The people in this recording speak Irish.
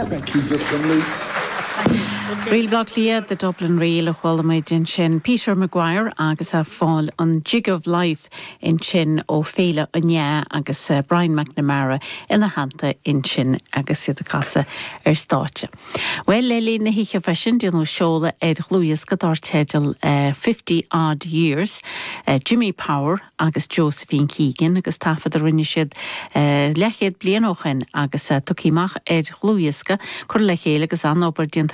Thank you, just been loose. Ríl Bhaile Átha Cliath, The Dublin Reel a chuala muid ansin. Peter Maguire agus ag fáil an Jig of Life ansin ó Féile an Fhleadh agus Brian McNamara ina theannta ansin agus iad ag casadh ar stáitse. Bhuel, le linn na hoíche freisin, déanadh seoladh ar dhlúthdhiosca dar teideal Fifty Odd Years, Jimmy Power agus Josephine Keegan agus taifead a rinne siad leathchéad bliain ó shin agus tugtha amach ar dhlúthdhiosca, curtha le chéile agus an-obair déanta.